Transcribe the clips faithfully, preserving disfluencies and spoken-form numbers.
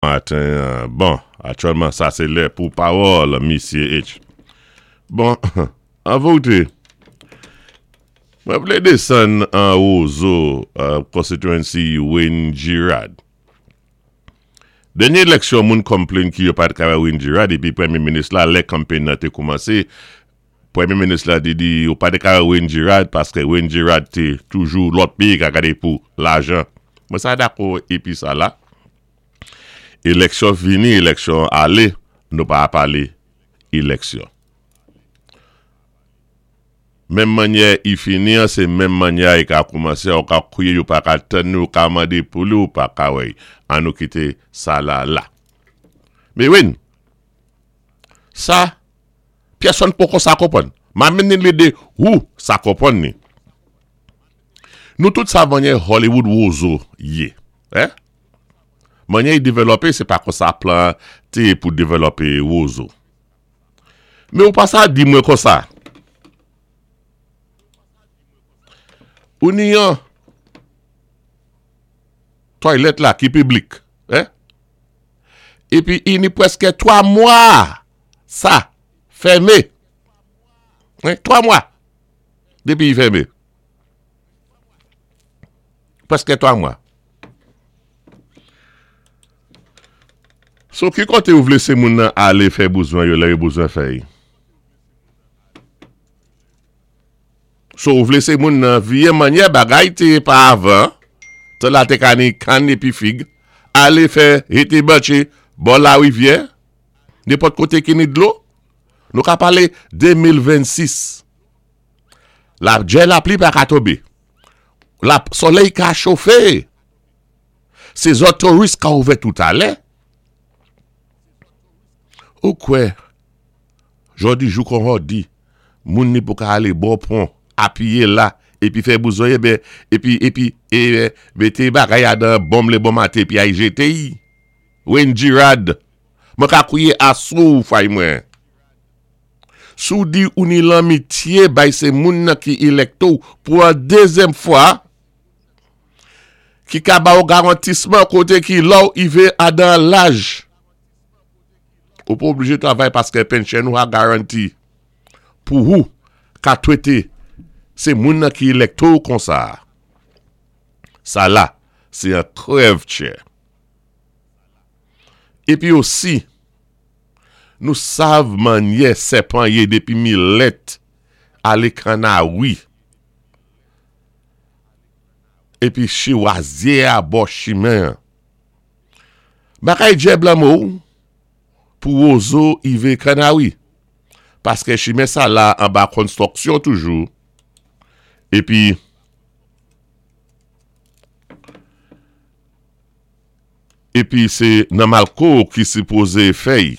Maten, bon, aktyèlman sa sé lè pou pawòl, Misyé H. Bon, an vérité, mwen vlé désann an Roseau, uh, constituency Wayne Girard. Dènyé éleksyon moun konplenn ki yo pat ka wè Wayne Girard épi pwémyé minis la, lè kanpay nan té koumansé, pwémyé minis la di di yo pa té ka wè Wayne Girard paské Wayne Girard té toujou lòt péyi ka gadé pou lajan. Mwen sa dakò épi sa la. Éleksyon vini, éleksyon alé, nou pa palé éleksyon. Menm mannyè i fini an, sé menm mannyè i ka koumansé, ou ka kwiyé, ou pa ka tann ou ka mandé pou li, ou pa ka wè. An nou kité sa la la. Mé wi, sa, pèsonn poko sa konpwann. Ma mennen lidé ou sa konpwann ni. Nou tout sa mannyè Hollywood Roseau yé. Eh? Mannyè i dévlopé, sé pa konsa plan té pou dévlopé Roseau. Mé ou pa sa di mwen konsa. Ou ni yon toilet la ki piblik. Eh? Épi i ni pwèskè twa mwa sa fèmé. Eh? Twa mwa dépi i fèmé. Pwèskè twa mwa. So ki koté ou vlé sé moun nan alé fè bézwen yo lè yo bézwen fè y? So ou vlé sé moun nan vyé mannyè bagay té pa avan, tan la té ka ni kann épi fig, alé fè rété banché bò larivyè, nenpòt koté ki ni dlo. Nou ka palé démil venn-sis. La djè lapli pa ka tonbé. La solèy ka chofé. Sézon touris ka ouvè tout alè. Ou kwè, jòdi jou kon jòdi, moun ni pou ka alé bò pon, apiyé la, épi fè bézwen ében, épi, épi, é, mété bagay adan bonm lé bon maten épi ay jété y. Wayne Girard, mwen ka kwiyé asou fay mwen. Si ou di ou ni lanmityé bay sé moun nan ki elect ou pou an dézyèm fwa, ki ka ba ou garantisman koté ki lò ou ivé adan laj. Ou pa oblijé travay paské pension ou a garanti. Pou ou, ka twété, sé moun nan ki elect ou konsa. Sa la, sé an krèv tchè. Épi osi, nou sav mannyè sèpan yé dépi Milèt alé Kanawi. Épi chiwazyé a bò chimen. Bagay djè blanmo pou Roseau ivé Kanawi. Paské chimen sa la anba konstwiksyon toujou. Épi épi sé Namalco ki sipozé fè y.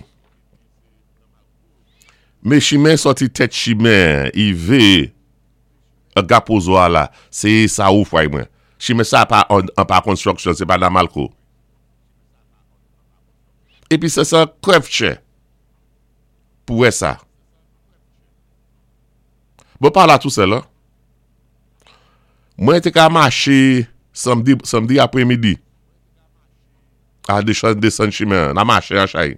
Mé chimen sòti tèt chimen ivé Gap Roseau a la, sé sa ou fway mwen. Chimen sa pa an, an pa konstwiksyon, sé pa Namalco. Épi sé sa krèv tchè pou wè sa. Bon pa la tou sèl, an. Mwen té ka maché samdi, samdi apwémidi. A déchan désann chimen, nan maché an chay.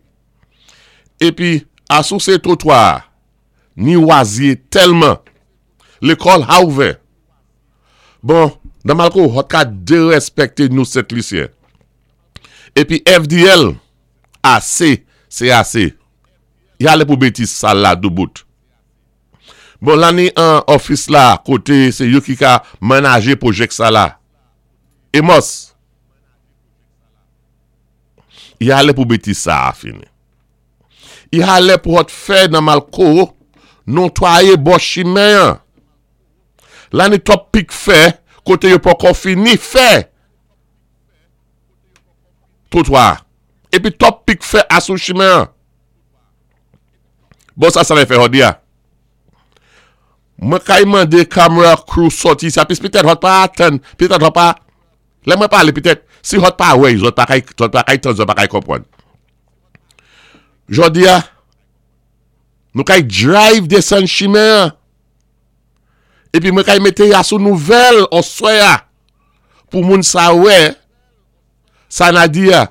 Épi, asou sé twotwa, ni wazye tèlman. Lékòl a ouvè. Bon, Namalco, hot ka dérèspèkté nou Sent Lisyen. Épi F D L, asé, sé asé. Y alé pou bétiz sa la doubout. Bon, la ni an ofis la, koté sé yo ki ka manajé pwojè sa la. Emos. Y alé pou bétiz sa a fini. Y alé pou hot fè Namalco, notwayé bò chimen. La ni twòp pik fè, koté yo poko fini fè. Twotwa. Épi twòp pik fè asou chimen. Bon, sa sa lè fè jòdi a. Mwen kay mandé camera crew sòti sa, pis pitèt hot pa atann, pitèt hot pa, lè mwen palé pitèt, si hot pa wè, zòt pa kay, zòt pa kay tann, zòt pa kay konpwann. Jòdi a, nou kay drive désann chimen. Épi mwen kay mété ya sou nouvèl oswè a, pou moun sa wè, sa na di ya.